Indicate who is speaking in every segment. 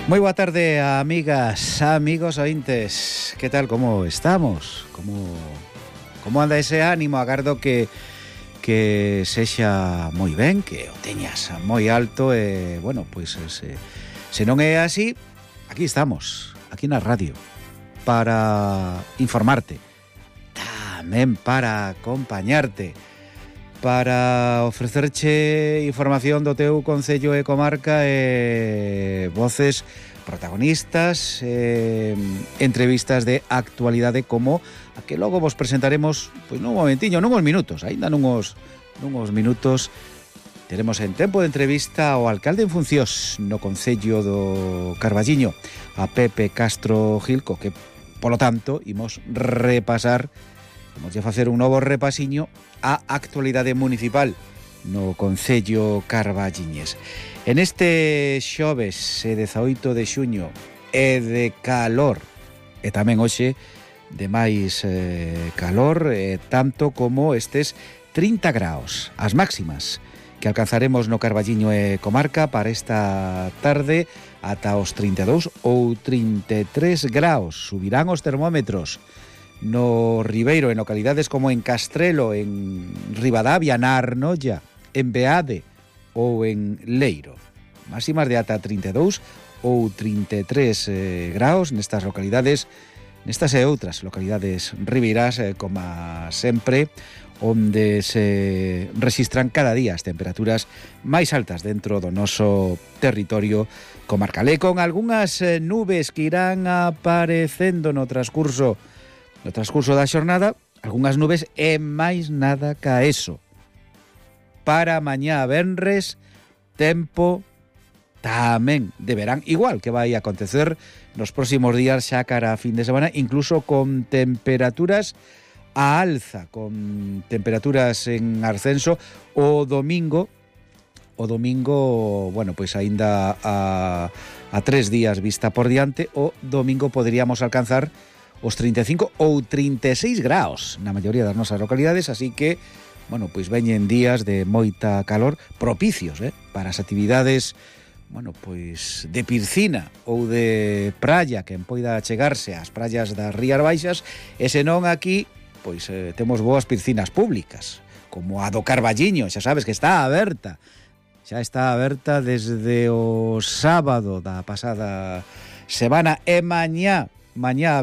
Speaker 1: Moi boa tarde, amigas, amigos ointes. Que tal, como estamos? Como anda ese ánimo? Agardo que sexa moi ben, que o teñas moi alto e, bueno, pois se non é así, aquí estamos, aquí na radio, para informarte, tamén para acompañarte, para ofrecerche información do teu concello e comarca e voces protagonistas, entrevistas de actualidade como a que logo vos presentaremos pois nun momentiño, nunhos minutos, aínda nunhos minutos. Teremos en tempo de entrevista ao alcalde en funcións no concello do Carballiño, a Pepe Castro Gilco, que polo tanto imos repasar, imos a facer un novo repasiño a actualidade municipal no concello carballiñés. En este xoves 18 de xuño e de calor, e tamén hoxe de máis calor, tanto como estes 30 graus, as máximas que alcanzaremos no Carballiño e comarca para esta tarde ata os 32 ou 33 graus. Subirán os termómetros no Ribeiro, en localidades como en Castrelo, en Ribadavia, na Arnolla, en Beade ou en Leiro. Máximas de ata 32 ou 33 graus nestas localidades, nestas e outras localidades ribeiras, como sempre, onde se registran cada día as temperaturas máis altas dentro do noso territorio comarcal. E con algunhas nubes que irán aparecendo no transcurso da xornada, algunhas nubes e máis nada ca eso. Para mañá venres, tempo tamén de verán, igual que vai acontecer nos próximos días xa cara a fin de semana, incluso con temperaturas a alza, con temperaturas en ascenso o domingo, bueno, pois aínda a 3 días vista por diante, o domingo poderíamos alcanzar os 35 ou 36 graus na maioría das nosas localidades, así que, bueno, pois veñen días de moita calor propicios para as actividades, bueno, pois de piscina ou de praia, quen poida chegarse ás praias das Rías Baixas, e senón aquí, pois temos boas piscinas públicas, como a do Carballiño, xa sabes que está aberta, xa está aberta desde o sábado da pasada semana, e mañá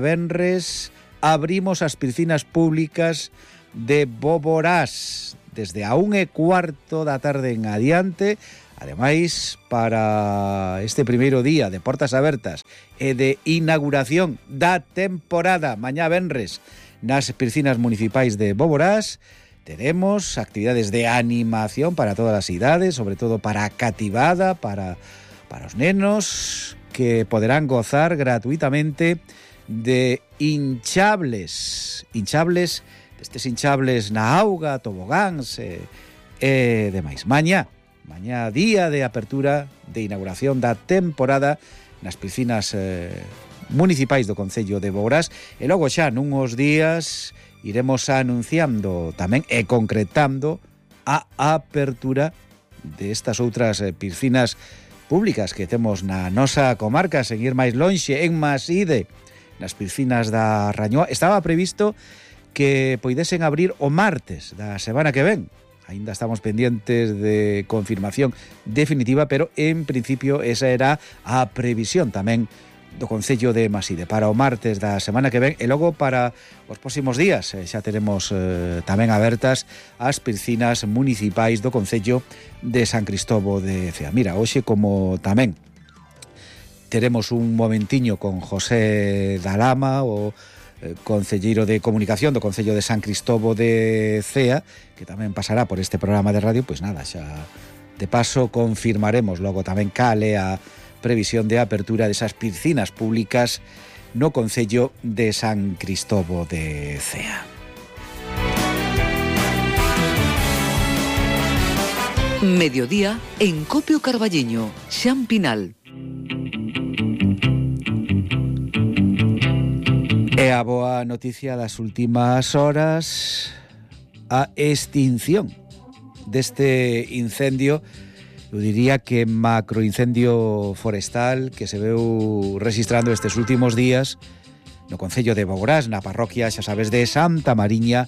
Speaker 1: venres abrimos as piscinas públicas de Boborás desde a 1:15 da tarde en adiante. Ademais, para este primeiro día de portas abertas e de inauguración da temporada mañá venres nas piscinas municipais de Boborás, tenemos actividades de animación para todas as idades, sobre todo para a cativada, para os nenos, que poderán gozar gratuitamente de hinchables, destes hinchables na auga, tobogáns e demais. Mañá día de apertura, de inauguración da temporada nas piscinas municipais do concello de Boborás, e logo xa nunhos días iremos anunciando tamén e concretando a apertura destas outras piscinas públicas que temos na nosa comarca, sen ir máis lonxe, en Maside, nas piscinas da Rañoa. Estaba previsto que poidesen abrir o martes da semana que ven. Aínda estamos pendientes de confirmación definitiva, pero en principio esa era a previsión tamén do concello de Maside para o martes da semana que ven, e logo para os próximos días xa teremos tamén abertas as piscinas municipais do concello de San Cristobo de Cea. Mira, hoxe como tamén teremos un momentiño con José Dalama, o concelleiro de comunicación do concello de San Cristobo de Cea, que tamén pasará por este programa de radio, pois nada, xa de paso confirmaremos logo tamén cale a previsión de apertura desas piscinas públicas no concello de San Cristobo de Cea.
Speaker 2: Mediodía en Copio Carballiño, Xan Pinal.
Speaker 1: E a boa noticia das últimas horas, a extinción deste incendio eu diría que macroincendio forestal que se veu registrando estes últimos días no concello de Boborás, na parroquia, xa sabes, de Santa Mariña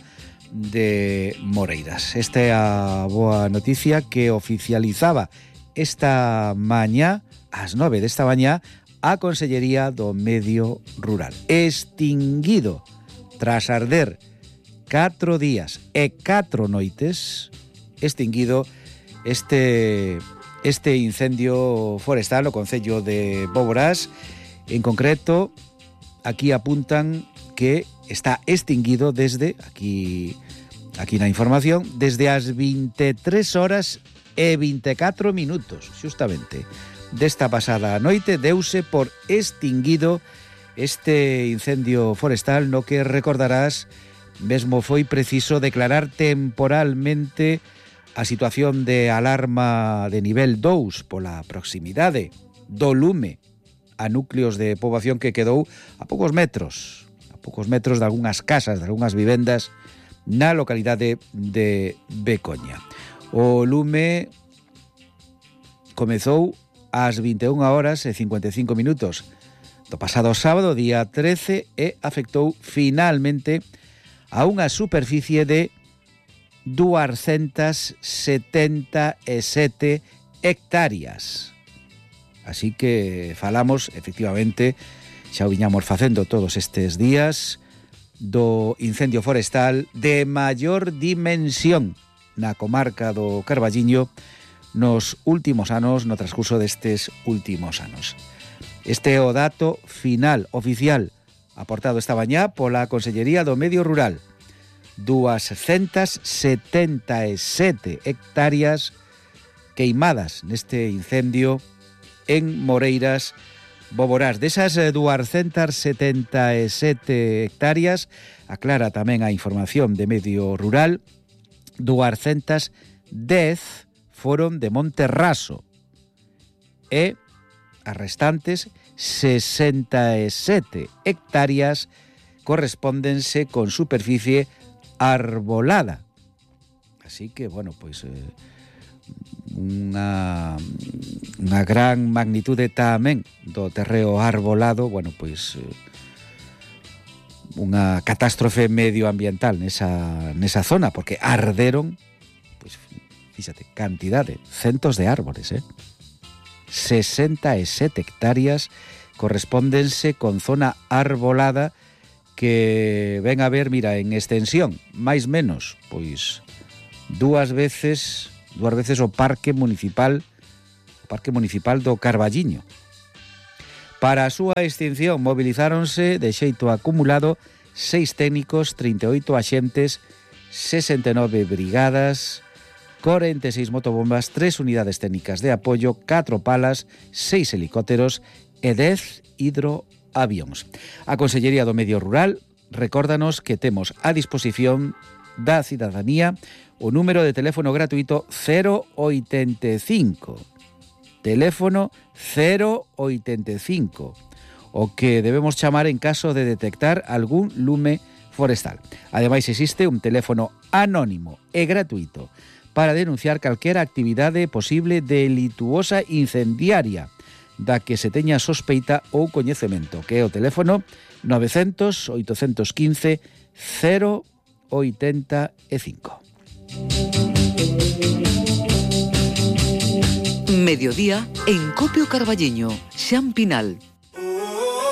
Speaker 1: de Moreiras. Esta é a boa noticia que oficializaba esta mañá, ás 9 desta mañá, a Consellería do Medio Rural. Extinguido tras arder 4 días e 4 noites, extinguido este incendio forestal no concello de Boborás. En concreto, aquí apuntan que está extinguido desde, aquí na información, desde as 23 horas e 24 minutos, xustamente, desta pasada noite deuse por extinguido este incendio forestal no que recordarás mesmo foi preciso declarar temporalmente a situación de alarma de nivel 2 pola proximidade do lume a núcleos de poboación que quedou a poucos metros de algunhas casas, de algunhas vivendas na localidade de Becoña. O lume comezou ás 21 horas e 55 minutos do pasado sábado, día 13, e afectou finalmente a unha superficie de 277 hectáreas. Así que falamos, efectivamente, xa o viñamos facendo todos estes días, do incendio forestal de maior dimensión na comarca do Carballiño nos últimos anos, no transcurso destes últimos anos. Este é o dato final, oficial, aportado esta mañá pola Consellería do Medio Rural. 277 hectáreas queimadas neste incendio en Moreiras, Boborás. Desas 277 hectáreas, aclara tamén a información de Medio Rural, 210 foron de Monte Raso e as restantes 67 hectáreas correspóndense con superficie arbolada. Así que, bueno, pois unha gran magnitude tamén do terreo arbolado, bueno, pois unha catástrofe medioambiental nesa zona, porque arderon, pois, fíxate, cantidade, centos de árboles, 67 hectáreas correspóndense con zona arbolada que ven a ver, mira, en extensión, máis menos, pois dúas veces o Parque Municipal do Carballiño. Para a súa extinción movilizáronse de xeito acumulado 6 técnicos, 38 axentes, 69 brigadas, 46 motobombas, 3 unidades técnicas de apoio, 4 palas, 6 helicópteros e 10 hidroavións. A Consellería do Medio Rural recórdanos que temos a disposición da cidadanía o número de teléfono gratuito 085. Teléfono 085, o que debemos chamar en caso de detectar algún lume forestal. Ademais, existe un teléfono anónimo e gratuito para denunciar calquera actividade posible delituosa incendiaria da que se teña sospeita ou coñecemento, que é o teléfono 900 815 085.
Speaker 2: Mediodía en Copio Carballiño, Xampinal.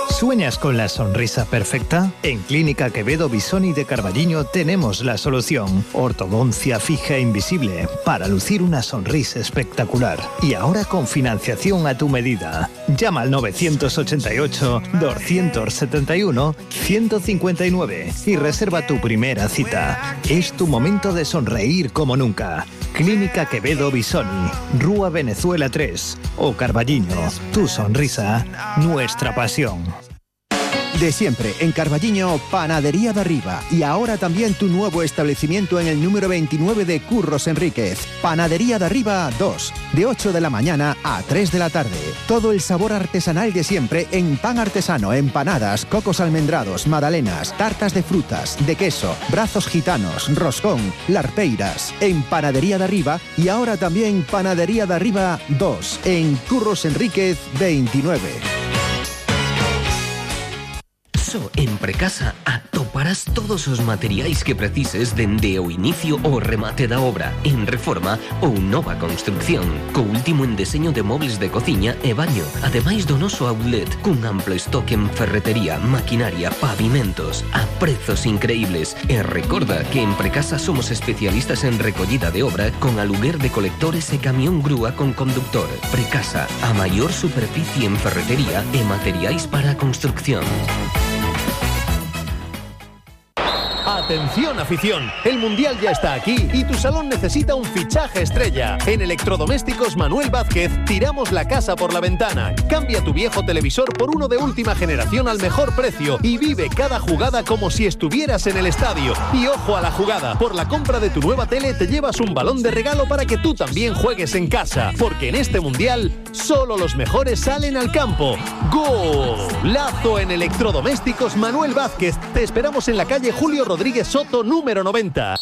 Speaker 3: ¿Sueñas con la sonrisa perfecta? En Clínica Quevedo Bisoni de Carballiño tenemos la solución. Ortodoncia fija e invisible para lucir una sonrisa espectacular. Y ahora con financiación a tu medida. Llama al 988-271-159 y reserva tu primera cita. Es tu momento de sonreír como nunca. Clínica Quevedo Bisoni, Rúa Venezuela 3 o Carballiño. Tu sonrisa, nuestra pasión.
Speaker 4: De siempre, en Carballiño, Panadería de Arriba. Y ahora también tu nuevo establecimiento en el número 29 de Curros Enríquez. Panadería de Arriba 2, de 8 de la mañana a 3 de la tarde. Todo el sabor artesanal de siempre en pan artesano, empanadas, cocos almendrados, magdalenas, tartas de frutas, de queso, brazos gitanos, roscón, larpeiras. En Panadería de Arriba y ahora también Panadería de Arriba 2, en Curros Enríquez 29.
Speaker 5: En Precasa atoparás todos os materiais que precises dende o inicio ao remate da obra, en reforma ou nova construcción, co último en deseño de mobles de cociña e baño, ademais do noso outlet, cun amplo estoque en ferretería, maquinaria, pavimentos, a prezos increíbles. E recorda que en Precasa somos especialistas en recollida de obra con aluguer de colectores e camión grúa con conductor. Precasa, a maior superficie en ferretería e materiais para a construcción.
Speaker 3: Atención afición, el Mundial ya está aquí y tu salón necesita un fichaje estrella. En Electrodomésticos Manuel Vázquez tiramos la casa por la ventana. Cambia tu viejo televisor por uno de última generación al mejor precio y vive cada jugada como si estuvieras en el estadio. Y ojo a la jugada, por la compra de tu nueva tele te llevas un balón de regalo para que tú también juegues en casa. Porque en este Mundial solo los mejores salen al campo. ¡Golazo en Electrodomésticos Manuel Vázquez! Te esperamos en la calle Julio Rodríguez Soto, número 90.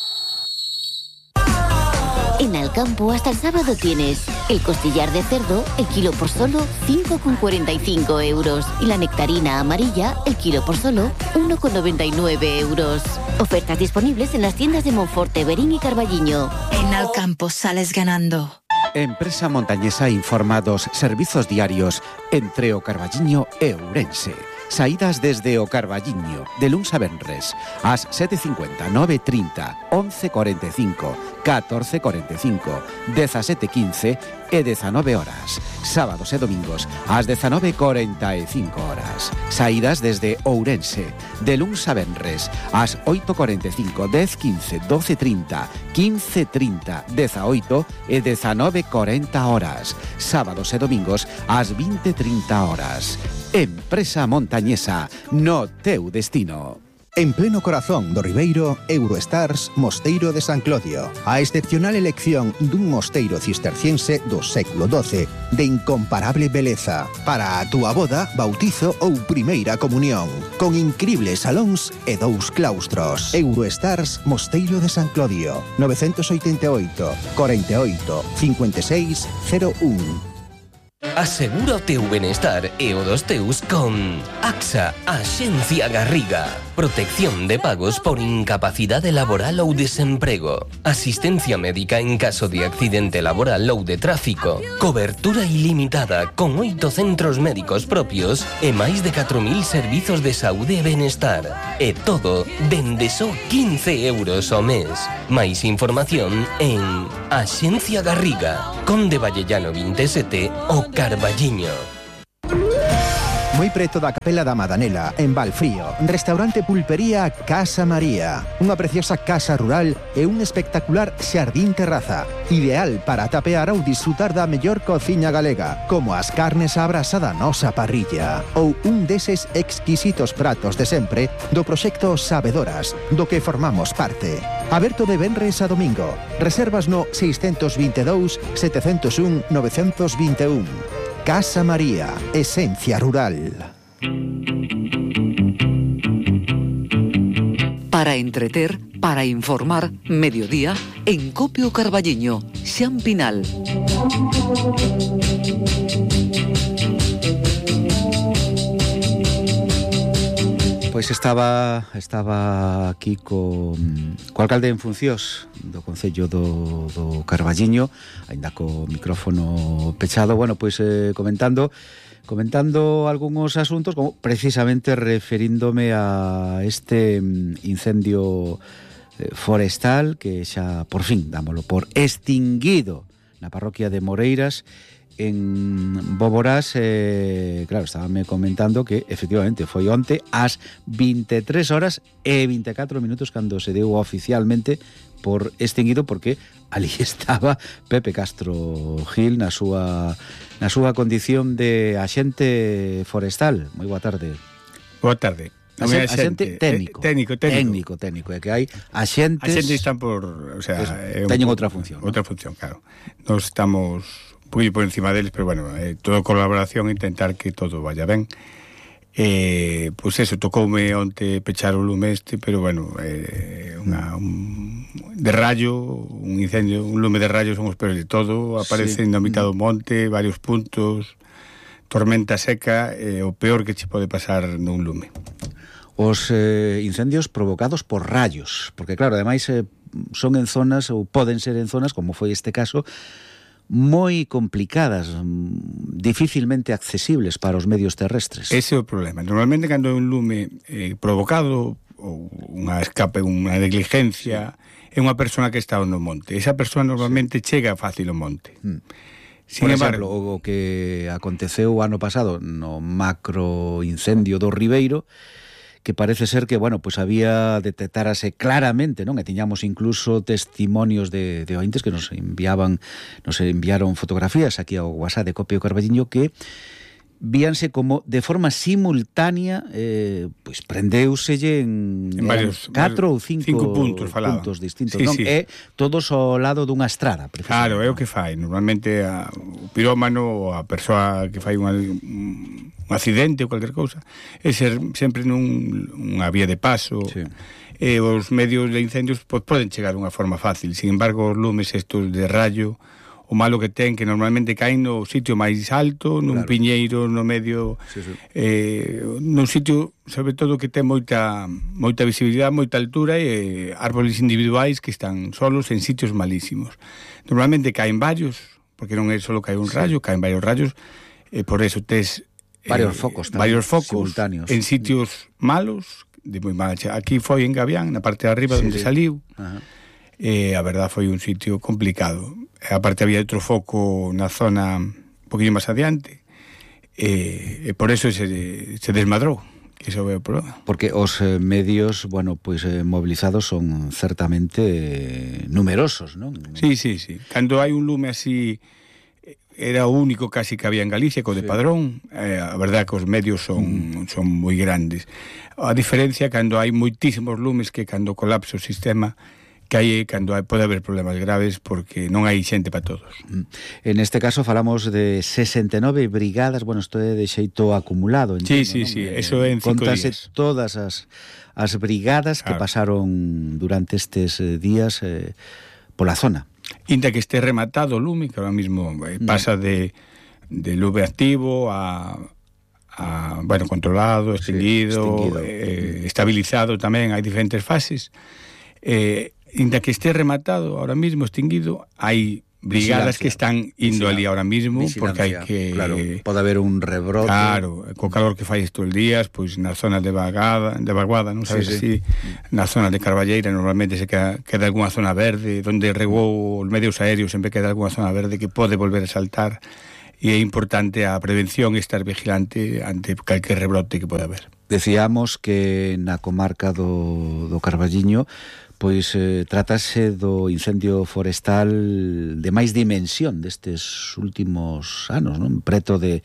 Speaker 6: En Alcampo hasta el sábado tienes el costillar de cerdo, el kilo por solo 5,45 euros. Y la nectarina amarilla, el kilo por solo 1,99 euros. Ofertas disponibles en las tiendas de Monforte, Berín y Carballiño.
Speaker 7: En Alcampo sales ganando.
Speaker 1: Empresa Montañesa informa dos servizos diarios entre o Carballiño e Ourense. Saídas desde o Carballiño, de luns a venres, ás 7:50, 9:30, 11:45, 14:45, 17:15 e 19 horas. Sábados e domingos, ás 19:45 horas. Saídas desde Ourense, de luns a venres, ás 8:45, 10:15, 12:30, 15:30, 18 e 19:40 horas. Sábados e domingos, ás 20:30 horas. Empresa Montañesa, no teu destino.
Speaker 4: En pleno corazón do Ribeiro, Eurostars Mosteiro de San Clodio. A excepcional elección dun mosteiro cisterciense do século XII de incomparable beleza para a túa boda, bautizo ou primeira comunión, con incribles salóns e 2 claustros. Eurostars Mosteiro de San Clodio, 988 48 56 01.
Speaker 5: Asegura o teu benestar e o dos teus con AXA, Axencia Garriga. Protección de pagos por incapacidade laboral ou desemprego. Asistencia médica en caso de accidente laboral ou de tráfico. Cobertura ilimitada con 8 centros médicos propios e máis de 4.000 servizos de saúde e benestar. E todo dende só 15 euros ao mes. Máis información en Axencia Garriga, Conde Vallellano 27 o Carballiño.
Speaker 4: Moi preto da Capela da Madanela, en Valfrío, restaurante pulpería Casa María. Unha preciosa casa rural e un espectacular xardín terraza. Ideal para tapear ou disfrutar da mellor cociña galega, como as carnes á brasa da nosa parrilla. Ou un deses exquisitos pratos de sempre do proxecto Sabedoras, do que formamos parte. Aberto de venres a domingo. Reservas no 622 701 921. Casa María, esencia rural.
Speaker 2: Para entreter, para informar, mediodía, en Copio Carballiño, Xampinal.
Speaker 1: Pois estaba aquí co alcalde en funcións do Concello do Carballiño, aínda co micrófono pechado, bueno, pois comentando algúns asuntos, como precisamente referíndome a este incendio forestal que xa por fin dámolo por extinguido na parroquia de Moreiras, en Boborás. Claro, estábame comentando que efectivamente foi onte ás 23 horas e 24 minutos cando se deu oficialmente por extinguido, porque ali estaba Pepe Castro Gil na súa condición de axente forestal. Moi boa tarde.
Speaker 8: Boa tarde.
Speaker 1: Axente técnico.
Speaker 8: Técnico.
Speaker 1: É que hai axentes...
Speaker 8: Axentes están por... O sea,
Speaker 1: teñen outra función.
Speaker 8: Outra función, claro. Nos estamos un poquillo por encima deles, pero bueno, toda colaboración, intentar que todo vaya ben. Pois eso, tocoume onte pechar o lume pero bueno, de rayo, un incendio, un lume de rayo son os peores de todo, aparecen na mitad do monte, varios puntos, tormenta seca, o peor que che pode pasar nun lume.
Speaker 1: Os incendios provocados por rayos, porque claro, ademais son en zonas, ou poden ser en zonas, como foi este caso, moi complicadas, dificilmente accesibles para os medios terrestres.
Speaker 8: Ese é o problema. Normalmente, cando é un lume provocado, ou unha escape, unha negligencia, é unha persona que está no monte. Esa persona normalmente chega fácil ao monte.
Speaker 1: Sin embargo, o que aconteceu o ano pasado no macro incendio do Ribeiro, que parece ser que, bueno, pues había detectarase claramente, non? E tiñamos incluso testimonios de ointes que nos enviaron fotografías aquí ao WhatsApp de Copio Carballiño que víanse como de forma simultánea pois prendeuselle en
Speaker 8: varios
Speaker 1: 4 ou 5
Speaker 8: puntos
Speaker 1: distintos, non?
Speaker 8: Sí.
Speaker 1: E todos ao lado dunha estrada.
Speaker 8: Claro, é o que fai. Normalmente o pirómano ou a persoa que fai un accidente ou cualquier cousa é ser sempre nunha vía de paso.
Speaker 1: Sí.
Speaker 8: E os medios de incendios poden chegar dunha forma fácil. Sin embargo, os lumes estos de rayo, o malo que ten, que normalmente caen no sitio máis alto, nun piñeiro, no medio, nun sitio, sobre todo, que ten moita visibilidade, moita altura, e árboles individuais que están solos en sitios malísimos. Normalmente caen varios, porque non é só caer un rayo, caen varios rayos, e por eso tes
Speaker 1: varios focos simultáneos
Speaker 8: en sitios malos, de moi mala. Aquí foi en Gavián, na parte de arriba onde saliu. A verdad foi un sitio complicado. Aparte había outro foco na zona un poquinho máis adiante, e por eso se desmadrou. Iso é o problema.
Speaker 1: Porque os medios, bueno, pois mobilizados son certamente numerosos, non?
Speaker 8: Sí. Cando hai un lume así, era o único casi que había en Galicia, co de Padrón. A verdad que os medios son moi grandes. A diferencia cando hai moitísimos lumes, que cando colapsa o sistema, que hai cando pode haber problemas graves, porque non hai xente para todos.
Speaker 1: En este caso falamos de 69 brigadas, bueno, isto é de xeito acumulado, entendo,
Speaker 8: Sí, eso é en 5
Speaker 1: días. Contase todas as brigadas que pasaron durante estes días pola zona.
Speaker 8: Inda que este rematado o lume, que ahora mismo pasa de lume activo a bueno, controlado, extinguido. Estabilizado tamén, hai diferentes fases. Inda que este rematado, ahora mismo extinguido, hai brigadas que están indo ali ahora mismo, porque hai que...
Speaker 1: Claro, pode haber un rebrote.
Speaker 8: Claro, co calor que fai estes días, pois nas zonas de vaguada, non sabes si na zona de Carballeira normalmente se queda algunha zona verde, onde regou os medios aéreos, sempre queda algunha zona verde que pode volver a saltar, e é importante a prevención e estar vigilante ante calquer rebrote que pode haber.
Speaker 1: Decíamos que na comarca do Carballiño pois trátase do incendio forestal de máis dimensión destes últimos anos, non? Preto de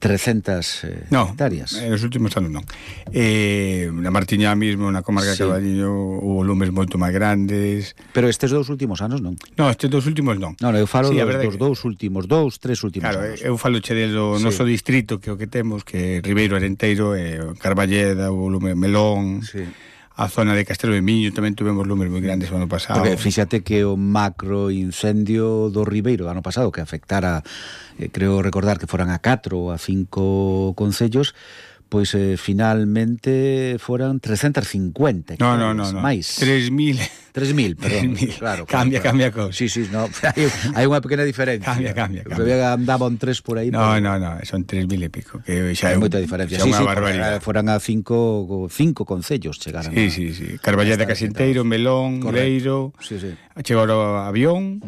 Speaker 1: 300 hectáreas.
Speaker 8: Non, nos últimos anos non. Na Martiñá mesmo, na comarca de Carballiño, hubo lumes moito máis grandes.
Speaker 1: Pero estes dous últimos anos non?
Speaker 8: Non, estes dous últimos non.
Speaker 1: Non, eu falo dos dous últimos, 3 últimos
Speaker 8: anos.
Speaker 1: Claro,
Speaker 8: eu falo che do noso distrito, que o que temos, que Ribeiro, Arenteiro, Carballeda, o lume Melón... A zona de Castelo de Miño tamén tuvemos lumes moi grandes o ano pasado.
Speaker 1: Porque fíxate que o macro incendio do Ribeiro do ano pasado, que afectara, creo recordar que foran a 4 ou a 5 concellos, pois finalmente foran 350 hectáreas, máis. 3.000, perdón.
Speaker 8: 3.000.
Speaker 1: Claro,
Speaker 8: cambia a cousa.
Speaker 1: Sí, no, hai unha pequena diferencia.
Speaker 8: Cambia.
Speaker 1: Andaban 3 por aí.
Speaker 8: No, son 3.000 e pico, que xa é
Speaker 1: moita diferencia.
Speaker 8: Xa unha barbaridade.
Speaker 1: Foran a 5 concellos chegaran.
Speaker 8: Sí. Carballeda, Casenteiro, Melón, Leiro, chegou a Avión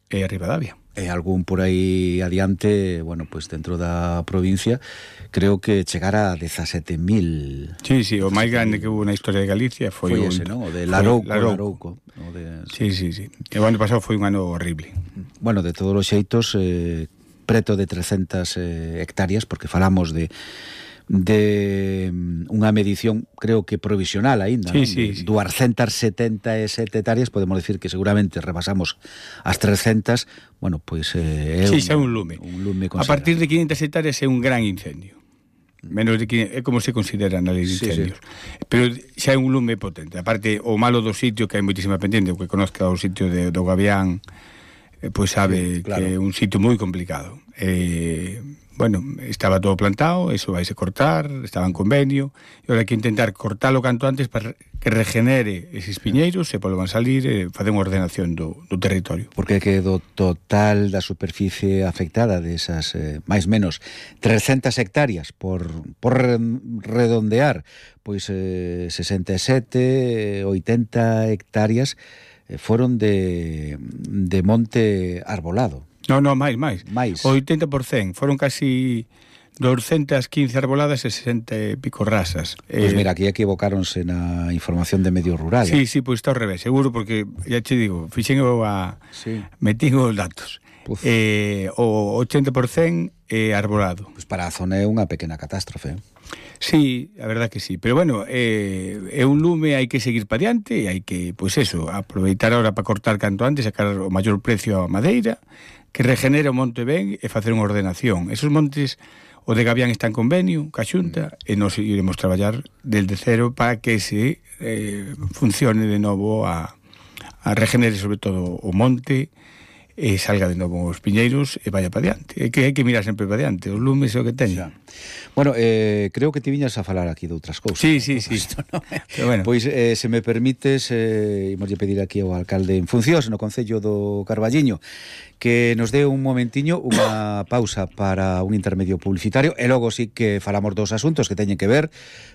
Speaker 8: e a Ribadavia.
Speaker 1: E algún por aí adiante, bueno, pois dentro da provincia, creo que chegara a 17.000.
Speaker 8: Sí, o máis grande que hubo na historia de Galicia foi
Speaker 1: ese, non? O de Larouco.
Speaker 8: Sí. E o ano pasado foi un ano horrible.
Speaker 1: Bueno, de todos os xeitos, preto de 300 hectáreas, porque falamos de unha medición, creo que provisional aínda,
Speaker 8: sí,
Speaker 1: non?
Speaker 8: Sí.
Speaker 1: 277 hectáreas, podemos decir que seguramente rebasamos as 300, bueno, pois é
Speaker 8: un lume. A partir de 500 hectáreas é un gran incendio. Menos de 500, é como se considera na lei de incendios. Sí. Pero xa é un lume potente. Aparte, o malo do sitio, que hai moitísima pendiente, o que conozca o sitio do Gavián, pois sabe claro, que é un sitio moi complicado. Bueno, estaba todo plantado, eso vai se cortar, estaba en convenio, e ahora hai que intentar cortalo canto antes para que regenere eses piñeiros, se volvan salir, facer unha ordenación do territorio.
Speaker 1: Porque que do total da superficie afectada desas máis menos 300 hectáreas por redondear, pois 67, 80 hectáreas foron de monte arbolado.
Speaker 8: No, máis. O 80%, foron casi 215 arboladas e 60 e pico rasas.
Speaker 1: Pois mira, aquí equivocáronse na información de medio rural.
Speaker 8: Sí, pois está ao revés, seguro, porque, ya te digo, fixen metín os datos. O 80% é arbolado.
Speaker 1: Pois para a zona é unha pequena catástrofe.
Speaker 8: Sí, a verdad que sí, pero bueno, é un lume, hai que seguir para diante, e hai que, pois eso, aproveitar ahora para cortar canto antes, sacar o maior precio a madeira, que regenere o monte ben e facer unha ordenación. Esos montes, o de Gavián está en convenio ca Xunta, e nos iremos traballar desde cero para que se funcione de novo a regenere sobre todo o monte, e salga de novo os piñeiros e vaya para diante. É que hai que mirar sempre para diante, os lumes é o que teña.
Speaker 1: Bueno, creo que te viñas a falar aquí de outras cousas.
Speaker 8: Sí.
Speaker 1: Esto, ¿no? Pero bueno. Pois, se me permites, imoslle pedir aquí ao alcalde en funcións no Concello do Carballiño que nos dé un momentiño unha pausa para un intermedio publicitario e logo sí que falamos dos asuntos que teñen que ver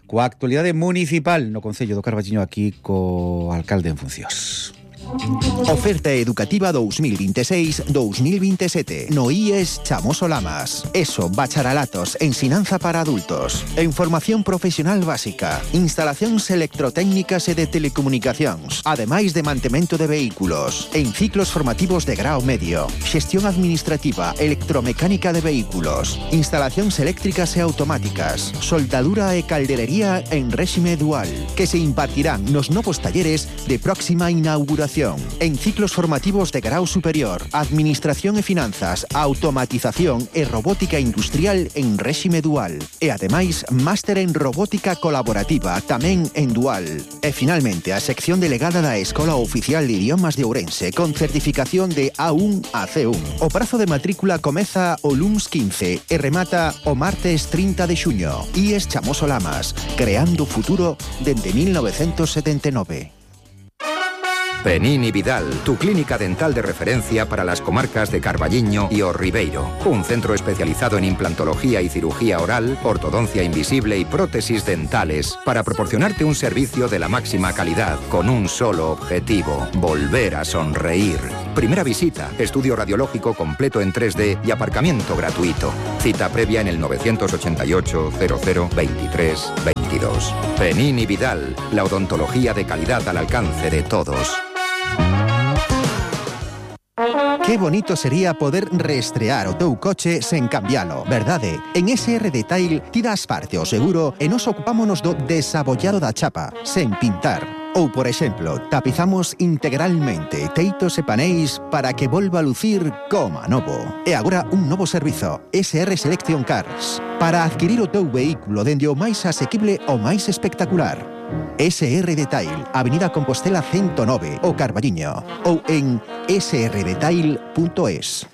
Speaker 1: coa actualidade municipal no Concello do Carballiño aquí co alcalde en funcións.
Speaker 4: Oferta educativa 2026-2027 no IES Chamoso Lamas. ESO, bacharelatos, ensinanza para adultos, en formación profesional básica, instalacións electrotécnicas e de telecomunicacións, ademais de mantemento de vehículos, en ciclos formativos de grao medio, xestión administrativa, electromecánica de vehículos, instalacións eléctricas e automáticas, soldadura e calderería en réxime dual, que se impartirán nos novos talleres de próxima inauguración. En ciclos formativos de grao superior, administración e finanzas, automatización e robótica industrial en réxime dual. E ademais, máster en robótica colaborativa tamén en dual. E finalmente, a sección delegada da Escola Oficial de Idiomas de Ourense con certificación de A1 a C1. O prazo de matrícula comeza o luns 15 e remata o martes 30 de xuño. IES Chamoso Lamas, creando futuro dende 1979.
Speaker 9: Penini Vidal, tu clínica dental de referencia para las comarcas de Carballiño y O Ribeiro. Un centro especializado en implantología y cirugía oral, ortodoncia invisible y prótesis dentales para proporcionarte un servicio de la máxima calidad con un solo objetivo: volver a sonreír. Primera visita, estudio radiológico completo en 3D y aparcamiento gratuito. Cita previa en el 988 00 23 22. Penini Vidal, la odontología de calidad al alcance de todos.
Speaker 4: Qué bonito sería poder reestrear o teu coche sen cambialo, verdade? En SR Detail ti das parte o seguro e nos ocupámonos do desabollado da chapa, sen pintar. Ou, por exemplo, tapizamos integralmente teitos e paneis para que volva a lucir como a novo. E agora un novo servizo, SR Selection Cars, para adquirir o teu vehículo dende o máis asequible ao máis espectacular. SR Detail, Avenida Compostela 109, o Carballiño, ou en srdetail.es.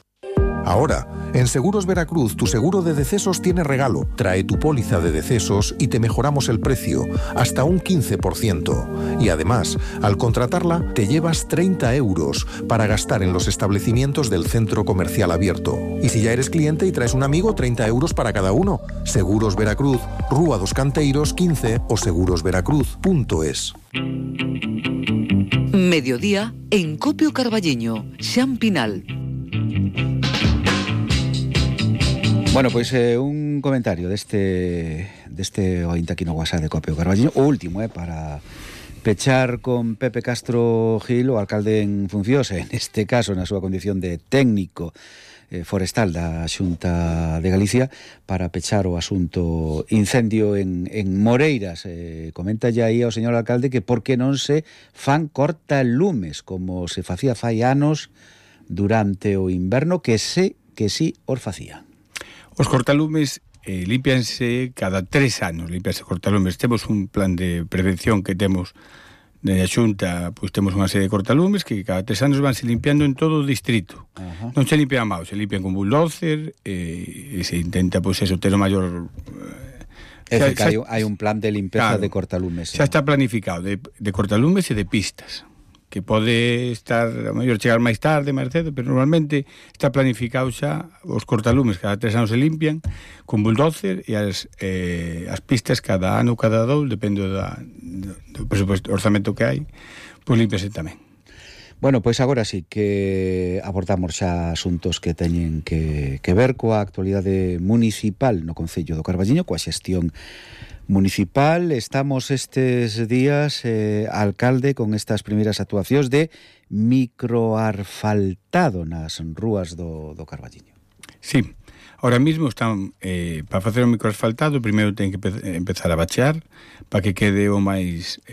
Speaker 10: Ahora, en Seguros Veracruz, tu seguro de decesos tiene regalo. Trae tu póliza de decesos y te mejoramos el precio, hasta un 15%. Y además, al contratarla, te llevas 30 euros para gastar en los establecimientos del centro comercial abierto. Y si ya eres cliente y traes un amigo, 30 euros para cada uno. Seguros Veracruz, Rúa dos Canteiros 15 o segurosveracruz.es.
Speaker 2: Mediodía en Copio Carballiño, Xan Pinal.
Speaker 1: Bueno, pois un comentario deste ointe aquí no WhatsApp de Copio Carballiño, o último, para pechar con Pepe Castro Gil, o alcalde en funcións, en este caso na súa condición de técnico forestal da Xunta de Galicia para pechar o asunto incendio en Moreiras. Comenta ya aí ao señor alcalde que por que non se fan cortalumes como se facía fai anos durante o inverno, que sí os facía.
Speaker 8: Os cortalumes límpianse cada 3 anos, límpianse cortalumes. Temos un plan de prevención que temos na Xunta, pois temos unha serie de cortalumes que cada 3 anos vanse limpiando en todo o distrito. Non se limpian máis, se limpian con bulldozer e se intenta, pois eso, ter o maior...
Speaker 1: hai un plan de limpeza, claro, de cortalumes.
Speaker 8: Xa está planificado de cortalumes e de pistas, que pode estar, a mellor chegar máis tarde, máis cedo, pero normalmente está planificado xa. Os cortalumes cada 3 anos se limpian con bulldozer e as pistas cada ano, cada 2, depende do presupuesto, orzamento que hai, pois limpiase tamén.
Speaker 1: Bueno, pois agora sí que abordamos xa asuntos que teñen que ver coa actualidade municipal no Concello do Carballiño, coa xestión municipal. Estamos estes días, alcalde, con estas primeiras actuacións de microasfaltado nas rúas do Carballiño.
Speaker 8: Sí, ahora mismo están para facer o microasfaltado, primeiro ten que empezar a bachear para que quede o máis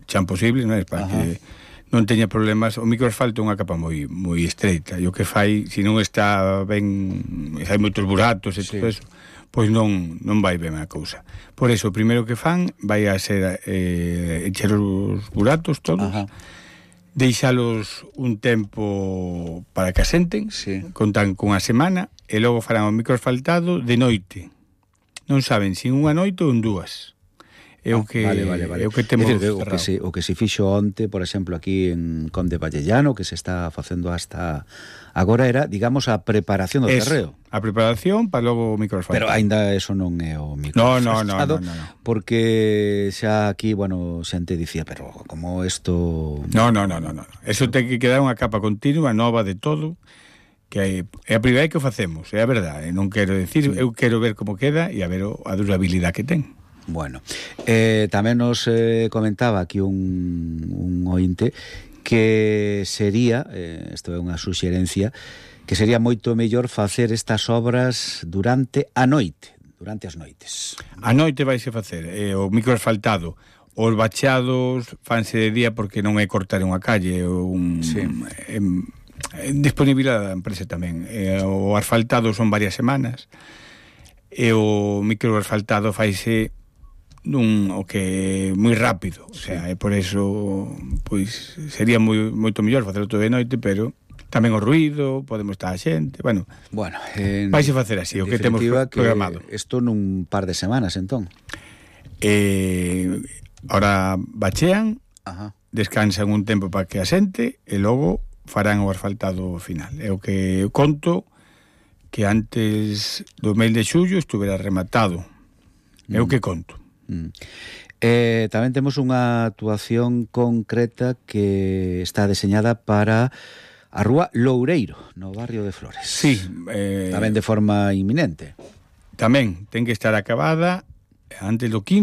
Speaker 8: chan posible, non é? Para que non teña problemas. O microasfalto é unha capa moi estreita, e o que fai, se non está ben, hai moitos buratos e todo eso, pois non vai ben a cousa. Por eso, o primeiro que fan vai a ser encher os buratos todos, deixalos un tempo para que asenten, contan con a semana, e logo farán o microasfaltado de noite. Non saben se unha noite ou en 2. É o que é o que temos cerrado.
Speaker 1: O que se fixo onte, por exemplo, aquí en Conde Vallellano, que se está facendo hasta agora, era, digamos, a preparación do terreo.
Speaker 8: A preparación para logo o microasfaltado.
Speaker 1: Pero aínda eso non é o microasfaltado. No. Porque xa aquí, bueno, xente dicía, pero como isto...
Speaker 8: No. Eso ten que quedar unha capa continua, nova de todo, que é a primeira que o facemos, é a verdade. Non quero decir, eu quero ver como queda e a ver a durabilidade que ten.
Speaker 1: Bueno, tamén nos comentaba aquí un ointe que sería, isto é unha suxerencia, que sería moito mellor facer estas obras durante a noite, durante as noites.
Speaker 8: A noite vaise facer o microasfaltado. Os bacheados fanse de día porque non é cortar unha calle, disponibilidade da empresa tamén. O asfaltado son varias semanas e o microasfaltado faise o que moi rápido, o sea, por eso pois sería moito mellor facelo todo de noite, pero tamén o ruido, podemos estar a xente, bueno, vaise facer así, o que temos programado.
Speaker 1: Isto nun par de semanas, entón.
Speaker 8: Ahora bachean, descansan un tempo para que asente e logo farán o asfaltado final. É o que conto que antes do mes de xullo estuvera rematado. É o que conto.
Speaker 1: Tamén temos unha actuación concreta que está deseñada para a rúa Loureiro, no barrio de Flores.
Speaker 8: Sí.
Speaker 1: Tamén de forma inminente.
Speaker 8: Tamén ten que estar acabada antes do 15